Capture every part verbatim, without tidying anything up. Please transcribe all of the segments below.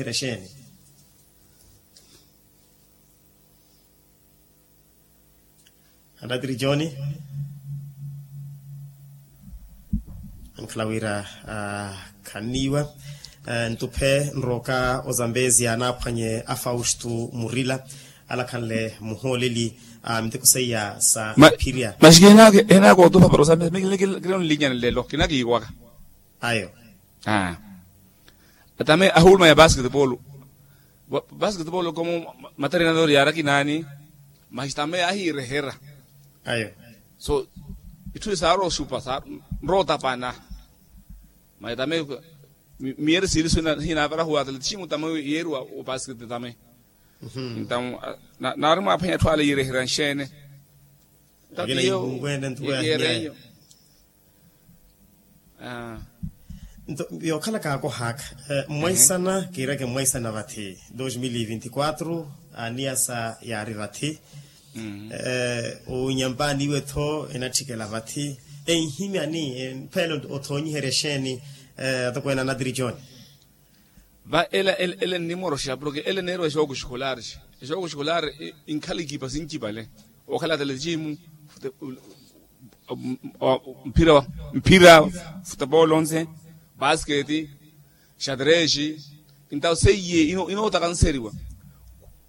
Exeeni. Anatiri joni. Ankhala wira khanniiwa. Ntuphe nrooka ozambezia anaaphwanye a faustu murila alakhanle muhooleli a miteko seiya sa mphirya. Masi kihinaka otupa para ozambezia mikilekile kiri onlinyanlelo kinakiiwaka. Ayo. Atame ahuluma ya basketball. Basketball komo matari nanori yarakinaani. Masi tame ahiirehera. Ayo. So itthu saaro oxupa nrootapana. Masi tame miyeri siili so hinaavarahu wa atletismo tame yeeriwa obaskete tame. Ntamu naari mwaaphwanya atthu ale yiirehera nxeene. Tatiyo yeereyo. Nto yookhala kaakohaaka. Mmwaisana kiireke mmwaisana vathi dos mil e vinte e quatro. Aniyasa yaari vathi. Onyampani iwe-tho enatthikela vathi. Enhimyani enpheele othoonyiherya exeeni? Atokweene anatiri joni. Va ela ela ela nnimoroxa porke ela eneeriwa exooku xikolari. Exooku xikolari inkhala ikipa sincipale. Okhala atletismo, mphira mphira, futebolo onse, basketi, xadrexi. Entawu seiye inootakanseriwa.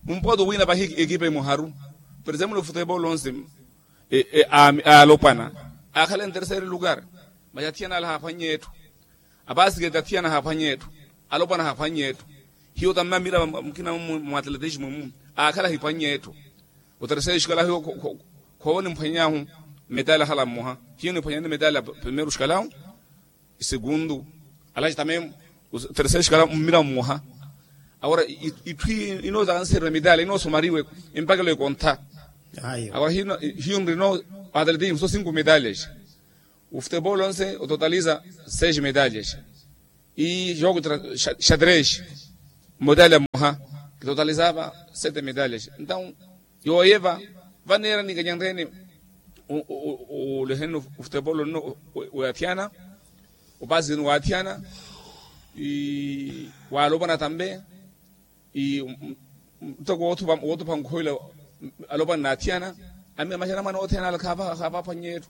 Mumpoto wina pahi ekipa emoharu. Por exemplo futebolo onse, aalopwana aakhala enterseri lukar. Masi athiyana ala haaphwannye etthu. Abasketi athiyana haaphwannye etthu. Alopwana haaphwannye etthu. Hiyo tamme amira mukina mu atletismo mu aakhala ahiphwannye etthu. Oterseri xikalaho hiyo khoova onimphwanyaahu. Metali akhala mmoha hiyo niphwanyani metali ya primeiro xikalaho. Isegundu alaxi tamme oterseri xikalaho mmira mmoha. Agora itthu inootakanseriwa metali inoosomariwe. Empakelo ekontha. Agora hiyo nrino atletismo so sinku metali axi. O futebol onse ototaliza seis medallas. I jogo xadrez, medalla mmoha kitotalizava sete medallas. Entaw yooyeva vaneera nikanyanrene. Olehene o futebol onno, waathyana opasini waathyana. Waalopwana tambe. Ntoko woothupa nkhoyela alopwana n'athiyana. Amina maxana mwana othene ala khaavaphwannye etthu.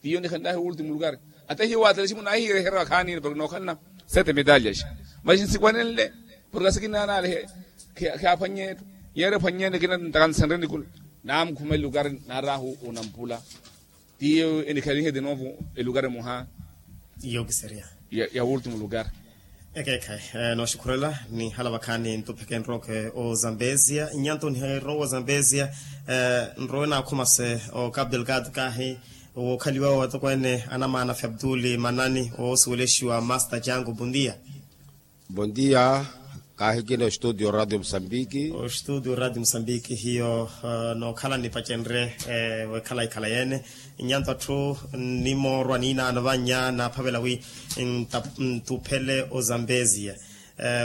Tiyo nikhannahi ultimo lukari. Ate hiyo waatele ximu naahiireherya vakhaanini porke nookhalana sete medallas. Maxi nsikwanenle porke asikinana ale khiyaaphwannye etthu. Yeera ephwannye nikina ntakansenre nikula naamkhumela lukari naarahu onampula. Tiyo enikhalihe de novo elukari muha. Yookiserya ya ultimo lukari. Ekeekhayi. Nooxukhurela nihala vakhaani ntupheke nrooke ozambezia nyanto niherowa ozambezia. Nrowe naakhumase o capo delgado kaahi wookhaliwa wa atokweene anamaana fiabduli manani oosuwelexiwa masta jango bondia. Bondia. Kaahikina ostudio radio musambiki. Ostudio radio musambiki hiyo nookhala nipacenre. Weekhala ikhala yeene nyanto atthu nimoorwa niinaano vannya naaphavela wi ntuphele ozambezia.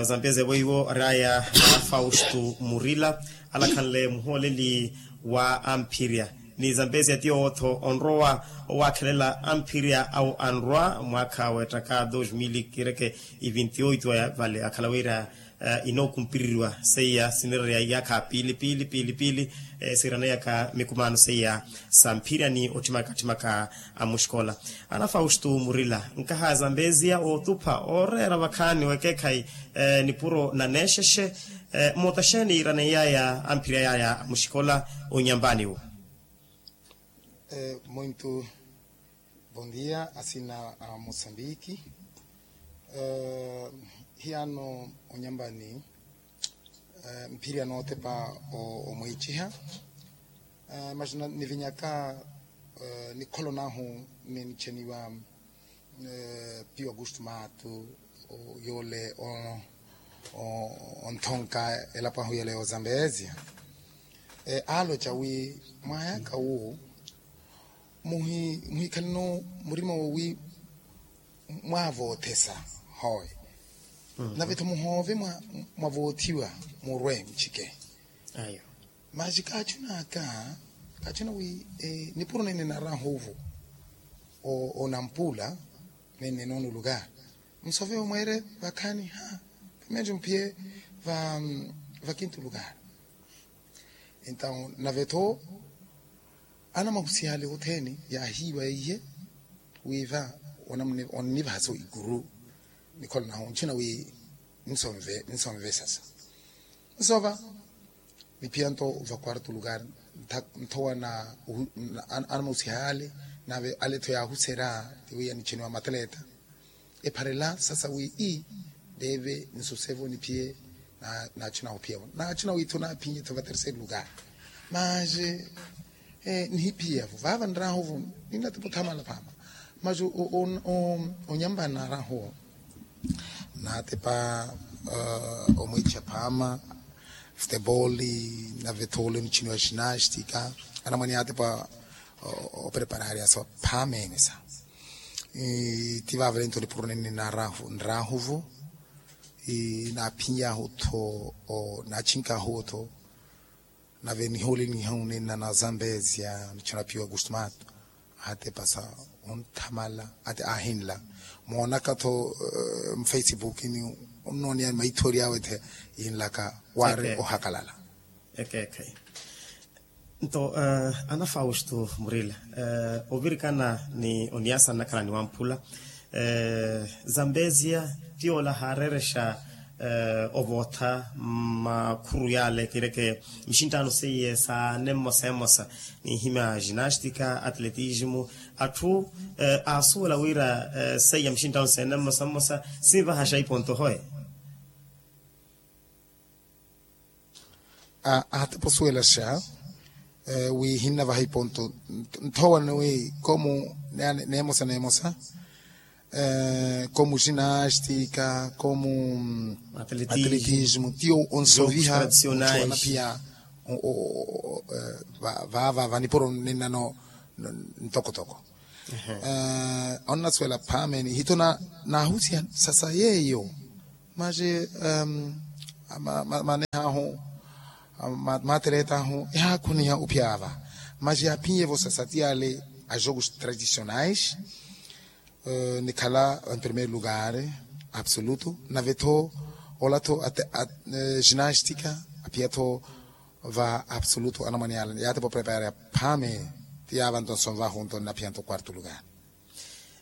Ozambezia weiwo araya a fausto murila alakhanle muhooleli wa amphirya. Ni zambezia ti owo-tho onrowa owaakhelela amphirya awo anrwa mwaakha weettaka dos mil kireke e vinte oito vale akhala wira inookumpiririwa seiya sinirerya iyaakha piili piili piili piili. Siraneyaka mikumaano seiya sa mphirya ni otthimaka atthimaka a muxikola. Ana fausto murila nkaha zambezia ootupha ooreera vakhaani wekeekhayi nipuro naneexexe. Moota xeeni iraneyaya amphirya yaya a muxikola onyampani wo. Muito bondia asina a musambiki. Hiyano onyambani mphirya nootepa omwiiciha. Maxina nivinyaka nikholo nahu nincheniwa piyo augusto mato yole onthonka elapo ahu yele ozambezia. Aaloca wi mwaayaka wu muhikhaleno murima wowi mwaavoothesa hoye. Nave-tho muhoove mwavoothiwa murwe muchike. Masi kaachunaka kaachuna wi nipuro nene narahu ovu onampula nene noonuluka. Musove omweere vakhaani ha pimenti muphiye va quinto lugar. Entaw nave-tho anamahusihale othene yaahiiwa iye wiiva onnivaha so ikuru. Nikhola nahu ntthina wi nsonve nsonve sasa nsova niphiya nto va quarto lugar. Nthowa na anamahusihale nave ale-tho yaahuserya tiwi yanittheniwa matleta epharela sasa wi i ndeve nsusevo niphiye. Naatthina ophiya vo naatthina wi-tho naaphinye-tho va terceiro lugar. Maxe nihiphiyevo vava nrahuvo ninatipa othamala phama. Maxe onyampa narahuvo naatipa omwicha phama. Futeboli nave-tho ole nitthiniwa ginastika anamwane yaatipa oprepararya sa phama enesa. Ti vavale nto nipuro nene narahuvo naphinyahu-tho naachinkahu-tho. Nave nihooleliha unena na zambezia nitthina phiwa augusto mato ahatepasa onthamala ati ahinla moonaka-tho mfacebook ni onnooniya maithori awe-tho yinlaka waari ohakalala. Ekeekhayi nto ana fausto murila ovirikana ni oniasa nnakhala ni wamphula zambezia ti ola haareerexa ovootha makhuru yale kireke mixinttaano seiye sa nemmosa emosa nihimya ginastika atletismo atthu aasuwela wira seiya mixinttaano sene mmosa mmosa sinvahaxa iponto hoye. Aatipa osuwelaxa wi hinnavaha iponto nthowa ni wi komu neemosa neemosa komu ginastika komu atletismo tiyo onsoviha nthowa na pia vaava vanipuro ninnano ntokotoko onnasuwela phaameni hito naahusiha sasa yeeyo maxe manehahu maateletahu ehaakhuniha ophiyaava. Maxe aphinyevo sasa tiyale a jogos tradicionais nikhala en primeiro lugar absoluto nave-tho ola-tho ginastika aphiya-tho va absoluto anamwane yala yaatipa oprepararya phaame. Tiyaava nto nsonvahu nto nnaphiya nto quarto lugar.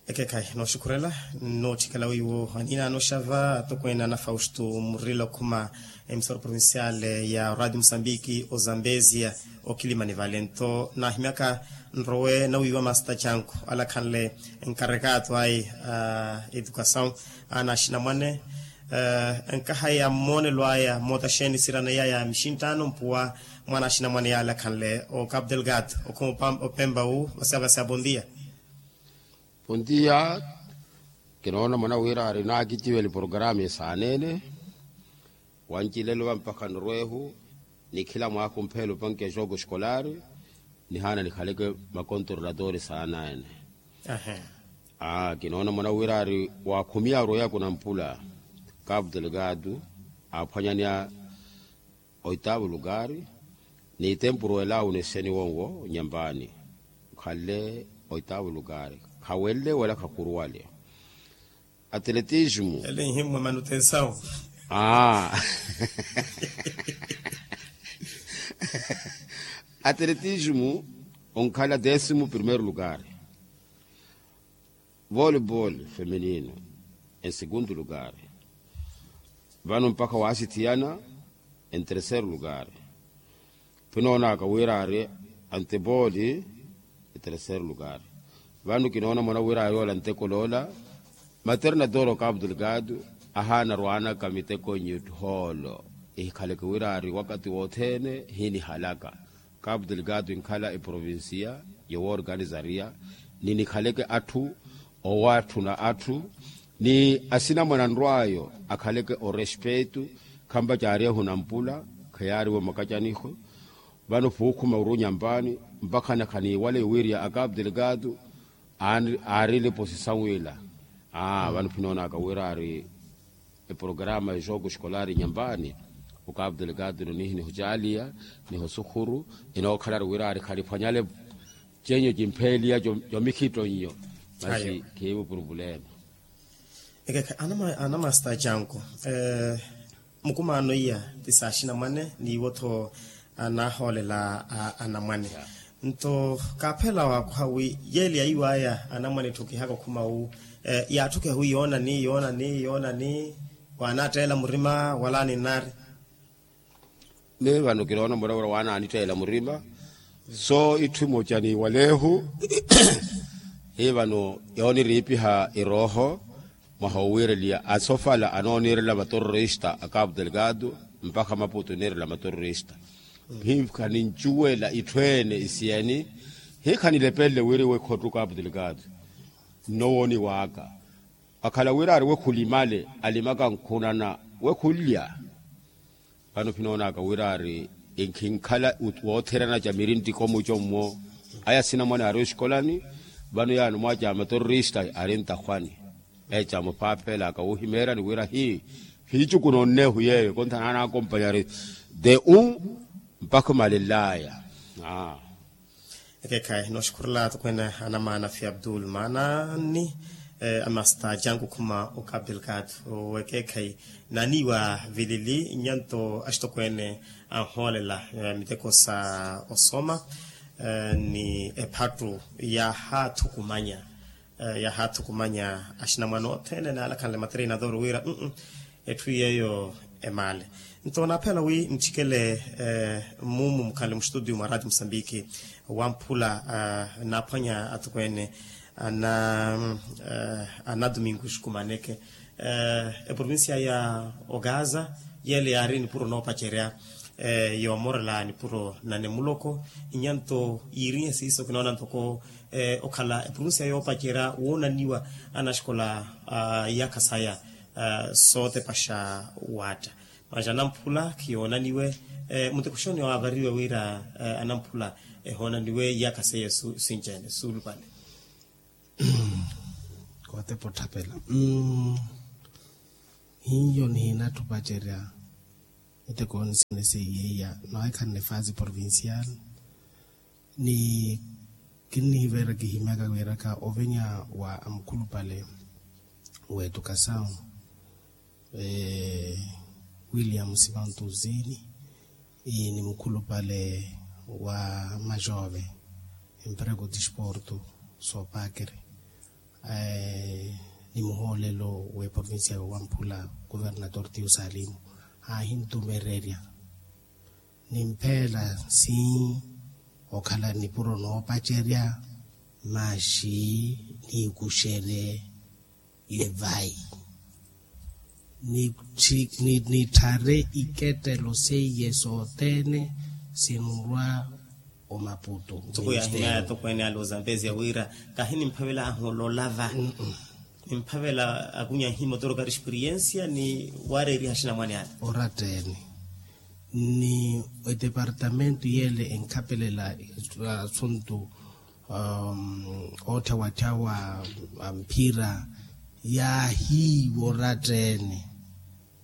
Ekeekhayi nooxukhurela nnootthikela wiiwo aniina anooxava atokweene ana fausto murila okhuma emisoro provincial ya radio mosambiki ozambezia okilimani vale nto naahimyaka nrowe nawiiwa masta janko alakhanle nkarekato ayi a educasaw ana axinamwane nkahayi ya mmoonelo aya mootaxeeni sirana iyaya mixinttaano mpuwa mwaana axinamwane yaalakhanle o capo delgado okhuma opemba wu vasiavasi a bondia. Pontiya kinoona mwana wira ari naakicivela iporogarama esaanene wancilelo vampakha nirwehu nikhila mwaakhu mpheela opanke jogo eskolari nihaana nikhaleke makontroladori saanene. Kinoona mwana wira ari waakhumiya aroya kunampula capo delgado aaphwanyaniya oitavu lukari ni tempuru ela wuneseni wonwo nyambani. Khalle oitavu lukari khawenle wala khakhuruwale. Atletismo ela ihimmwe manutensawu. Atletismo onkhala desimo primeiro lukari. Volleyball feminino en segundo lukari. Vano mpakha waasithiyana en terceiro lukari. Phinoonaka wira ari antepooli en terceiro lukari. Vano kinoona mwana wira ari ola ntekoloola maternadoro capo delgado ahaana arwaanaka miteko nyu thoolo. Ehikhaleke wira ari wakati wothene hinihalaka. Capo delgado inkhala eprovincia yowoorganizaria ni nikhaleke atthu owaatthuna atthu ni asinamwana nrw'ayo akhaleke orespeito. Khampa caari ehunampula khayaariwe makacaniho. Vano phuukhuma orunya mpaani mpakha nakhaniiwale wiiriya a capo delgado aarili posisawu ila. Vano phinoonaka wira ari eprogarama ya jogo eskolari nyambani. Okapu delegado nihinihucaaliya nihosukhuru inookhalari wira ari khaliphwanyale. Cenyo cimpheeliya comikhitto nyo masi khiivo purupulema. Ekekha anamasta janko. Mukumaano iya ti saaxinamwane n'iwo-tho anahoolela anamwane. Nto kaaphela waakuha wi yeeli yaiw'aya anamwane etthukihaka okhuma wu yaatthukiha wi yoonani yoonani yoonani waanaatteela murima wala ninnaari. Meyi vano kiroona murewura waanaanitteela murima. So itthu emoca ni waleehu hii vano yooniriipiha erooho mwaha owiireliya asofala anooniirela matororista a cabo delgado mpakha maputo oniirela matororista. Hii khanincuwela itthu ene isiyeni hii khanilepelele wiriwe khottu cabo delgado. Nno wooniw'aka akhala wira ari wekhulimale alimaka nkhunana wekhulya. Vano phinoonaka wira ari enkhinkhala wootherana ca mirinttiko muco mmo aya sinamwane ari oxikolani. Vano yaani mwaca matororista ari ntakhwani eca muphaaphelaka wuhimeeryani wira hii hiicuku noonneehu yeeyo kontha naanakompanyari the u mpakha omalelaya. Ekeekhayi nooxukhurela atokweene anamaana fi abdul maanani amasta jangu khuma okapu delgado. Wekeekhayi naaniiwa vilili nyanto axitokweene anhoolela miteko sa osoma ni ephattu yaahaathukumanya yaahaathukumanya axinamwane othene naalakhanle materinador wira etthu yeeyo emaale. Nto naaphela wi ntthikele mumu mukhanle mustudio mwa radio musambiki wamphula naaphwanya atokweene ana domingo xikumaneke eprovincia ya ogaza yeele yaari nipuro noopacerya yoomorela nipuro nane muloko inyanto yiirihe siiso kinoona ntoko okhala eprovincia yoopacerya woonaniwa anaxikola iyaakha saya sootepaxa waatta. Manja anamphula khiyoonaniwe muteko xoni waavariwe wira anamphula ehoonaniwe iyaakha seiye sinci-ene suulupale. Kootepa otthapela hiyo nihinatthi opacerya miteko nsene seiye iya nohikhanne fasi provincial ni kinnihiveera kihimyaka wiiraka ovenya wa amukhulupale w'etukasawu william sivantu zini ni mukhulupale wa majove empereko disporto soopakere ni muhoolelo w'eprovincia yowamphula kuvernator tiusalimu aahintumererya nimpheela sii okhala nipuro noopacerya maxi niikuxerye evayi nitthare ikettelo seiye sothene sinurwa omaputo. Ntoko yaahimyaya atokweene ale ozambezia wira kahi nimphavela ahu ololava nimphavela akunya himotoro kari experiensia ni waareeriha axinamwane ale. Oratteni ni etepartamentu yeele enkhapelela assuntu ootthawatthawa mphira yaahiiwa oratteni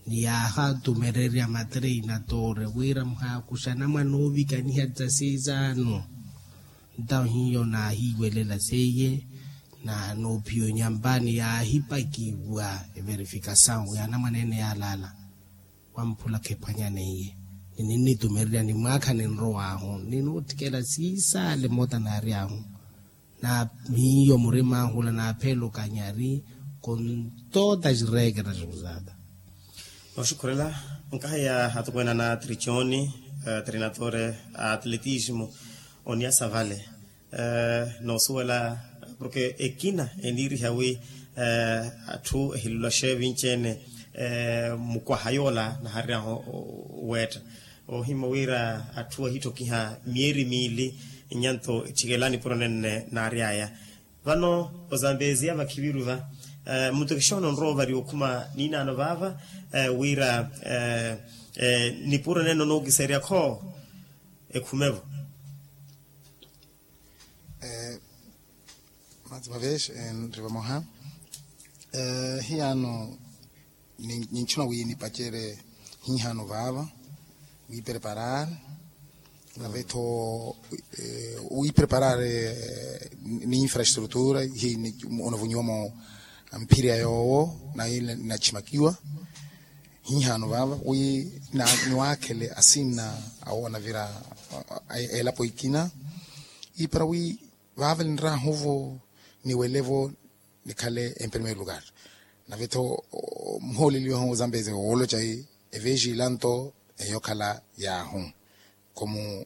ni yaahaatumererya matreinatore wira muhaakuxa anamwane oovikaniha tsa sisaano. Ntawo hiyo naahiiwelela seiye na noophiyo nyampani yaahipakiwa everifikasau ya anamwane ene yaalaala wamphula khephwanyaneiye ni ninnitumererya ni mwaakha ninrowaahu ninootthikela siisaale moota naary'ahu na miyo murimahu ula naapheela okanyari kontoota xireke na xikuzaata. Nooxukhurela nkahi ya atokweene ana triconi trinatore a atletismo oniasa vale noosuwela porke ekina eniiriha wi atthu ehilulaxe vinci-ene mukwaha yoola nahariryahu weetta ohimya wira atthu ahitthokiha myeeri miili nyanto etthikela nipuro nenne naary'aya. Vano ozambeziya vakhiviru va mutokixono onrowa ovariwa okhuma niinaano vaava wira nipuro nenne onookiseryakho ekhumevo. Mazi mavexe nri vamoha hiyaano ninchuna wi nipacele hihano vaava wipreparar. Nave-tho wipreparar ni infrastrutura hi onavunyiwa-mo mphirya yoowo naye nachimakiwa. Hihano vaava wi niwaakhele asina awo anavira elapo ikina, ipara wi vaava ninrahuvo niwelevo nikhale en primeiro lugar. Nave-tho muhooleliweho ozambeze wooloca wi eveji ilanto eyokhala yaahu komu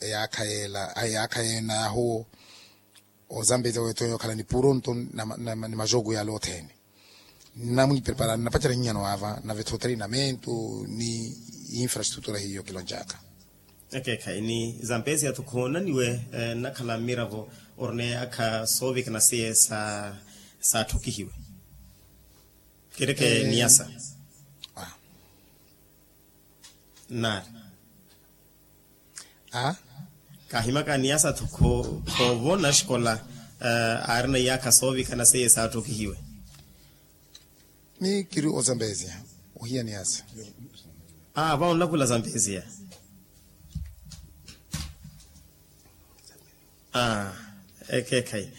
eyaakha yeela eyaakha yeena yaahu. Ozambeze weetho eyokhala ni puronto ni majogo yaala othene. Nnamwiprepara nnapacerya hihano vaava nave-tho treinamento ni infrastrutura hiyo kiloncaka. Ekeekhayi ni zambeze yatho khoonaniwe nnakhala mmiravo orneyaakha soovika na seiye saatthokihiwe. Kereke niyasa. Naari kahimaka niyasa-tho khoovona axikola aarina iyaakha soovikana seiye saatthokihiwe. Miyo kiri ozambezia ohiya niyasa. Aa va onlavula zambezia. Aa ekeekhayi.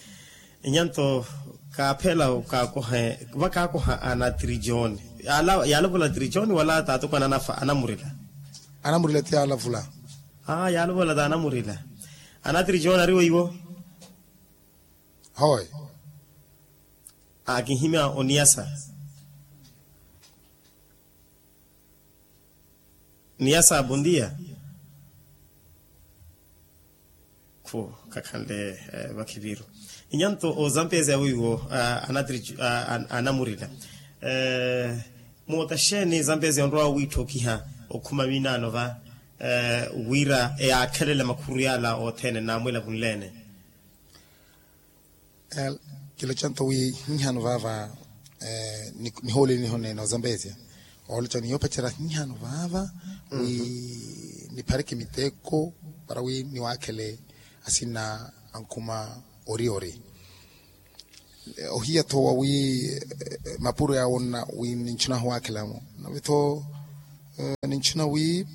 Inyanto kaaphela kaakoha va kaakoha anatrijooni. Yaalavula trijooni wala taatokwana anamurila? Anamurila ti yaalavula. Aa yaalavula taanamurila. Anatrijooni ariwo iwo? Howe. Akinhimya oniyasa. Niyasa bondia. Khu kakhanle vakhiviru. Inyanto ozambezia wiwo anamurila. Moota xeeni zambezia onrowa wiitthokiha okhuma miinaano va wira eyaakhelela makhuru yaala othene namwela vunleene. Kilocanto wi hihano vaava nihooleliho neene ozambezia. Ooloca niyoopacerya hihano vaava wi niphareke miteko para wi niwaakhele asina ankhuma ori ori. Ohiya-tho wawi mapuro yaawonna wi ninchuna ahu waakhela-mo nave-tho ninchuna wi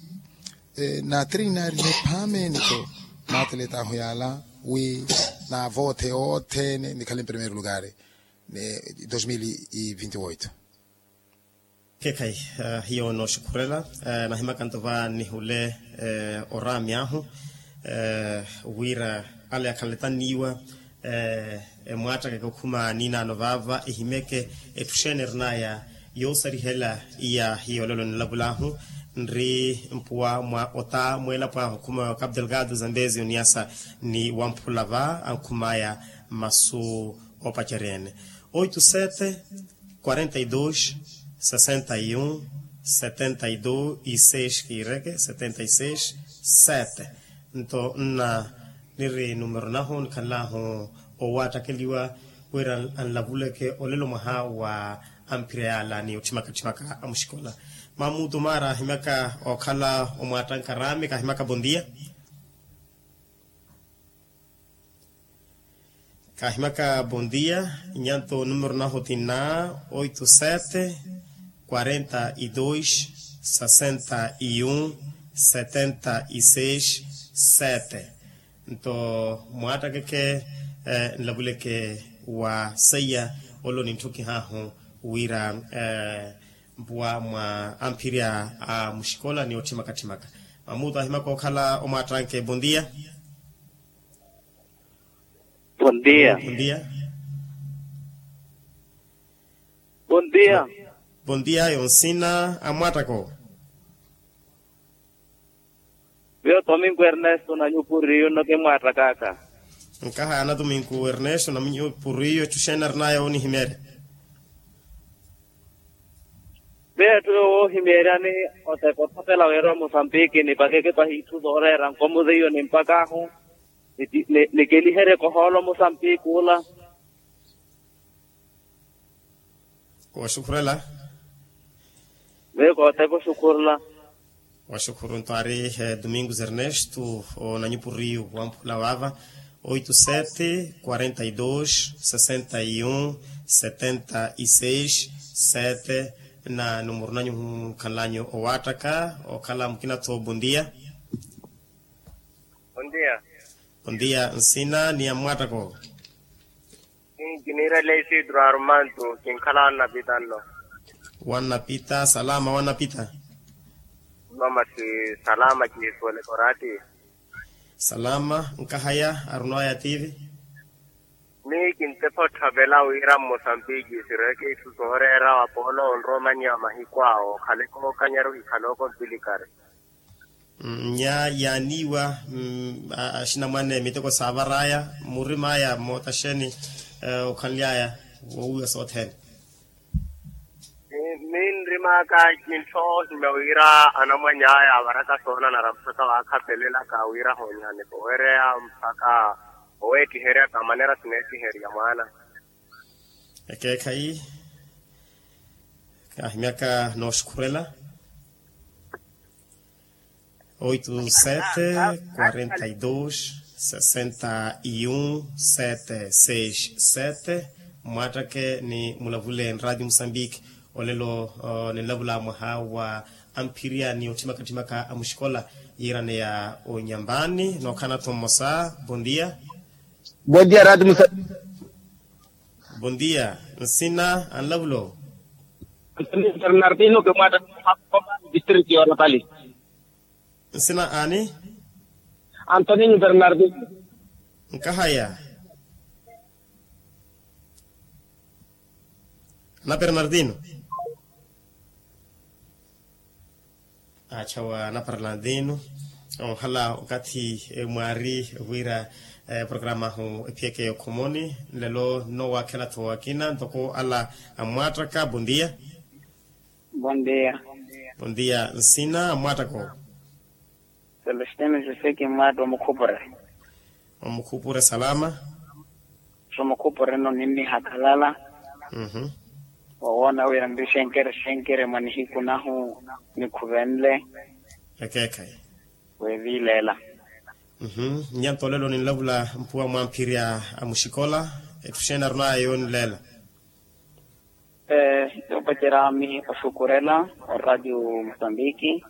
naatirina aari neephaame ni-tho maateleta ahu yaala wi naavoothe othene nikhale primeiro lugar. Dos mil e vinte e oito. Kekhayi hiyo nooxukhurela. Nahimaka nto va nihule oraami ahu wira ale akhanle tanniiwa emwaattaka ekokhuma niinaano vaava ehimeke etthu xeeni erinaya yoosarihela iya hiyo olelo ninlavulahu. Nri mpuwa mwa ota mweelapo ahu okhuma wa capu delgado zambezi oniyasa ni wamphula va ankhumaya masu opacerya ene. Oito sete quarenta e dois sessenta e um setenta e dois e seis kiireke setenta e seis sete. Nto nna niri numero nahu nikhanlahu owattakeliwa wira anlavuleke olelo mwaha wa amphira yaala ni otthimaka-tthimaka amuxikola. Mamutu mara ahimaka okhala omwattanka raami kahimaka bondia. Kahimaka bondia. Nyanto numero nahu ti na oito sete quarenta e dois sessenta e um setenta e seis sete. Nto mwattakeke nlavuleke wa seiya olo nintthukihaahu wira mpuwa mwa amphirya a muxikola ni otthimaka-tthimaka. Mamutu ahimaka okhala omwattanke bondia. Bondia. Bondia. Bondia. Bondia yonsina amwattako. Miyo tominku ernesto nanyupuriyo nno kimwaattakaka. Nkahaana tominku ernesto nanyupuriyo etthu xeeni arinaya onihimyerya? Miyo etthu yoohimyeryani oteko othapela weera omusambiki nipakeke pahi itthu zooreera nkomuziyo nimpakaahu nikeliheryeke ohoolo musambiki ula. Waxukhurela. Miyo kooteko oxukhurela. Waxukhuru nto ari domingos ernesto onanyupuriyo wamphula vaava oito sete quarenta e dois sessenta e um setenta e seis sete. Na numuru nanyu nkhanlanyu owaattaka okhala mukina-tho bondia. Bondia. Bondia nsina ni amwattako. Kiniirela isidro armanto kinkhala anapitanno. Wannapita salama wannapita. Mama si salama kiisuweleke oraati. Salama nkahaya arunwaya tiivi. Miyo kintepa otthavela wira mmosambiki sireeke itthu sooreera wa poolo onromanyiwa mahiku awo okhale kookanyaru kikhale okompilikari. Nnya yaaniiwa axinamwane miteko saavar'aya murim'aya mootaxeni okhanly'aya woowiwa sothene. Minrim'aka kintthoohimya wira anamwany'aya avaraka soona naramusaka waakhapelelaka wira ahoonyane owereya mpakha oweettiheryaka manera sineettiherya mwaana. Ekeekhayi kaahimyaka nooxukhurela oito sete quarenta e dois sessenta e um sete seis sete. Mmwaattake ni mulavule nraati musambiki olelo. Ninlavula mwaha wa amphiriya ni otthimaka-tthimaka a muxikola yiiraneya onyambani nookhala-tho mmosa. Bondia. Bondia raati musambiki. Bondia. Nsina anlavulo. Antonio bernardino kimwatta district yoratali. Nsina ani? Antonio bernardino. Nkahaya. Ana bernardino. Achawa naparalantinu. Ohala okathi mwaari wira programa ahu ephiyeke okhomoni nlelo nnowakhela-tho akina ntoko ala ammwaattaka bondia. Bondia. Bondia nsina ammwaattaka owo? Celestino josé kimmwaatta omukhupure. Omukhupure salama. Somukhupureno ninnihakhalala. Wowoona wira nri xenkere xenkere mwa nihiku nahu nikhuvenle. Ekeekhayi. Weeviileela. Nyanto olelo ninlavula mpuwa mwamphirya a muxikola. Etthu xeeni arunaya yoonileela? Yoopacerya ami oxukurela oradio musambiki.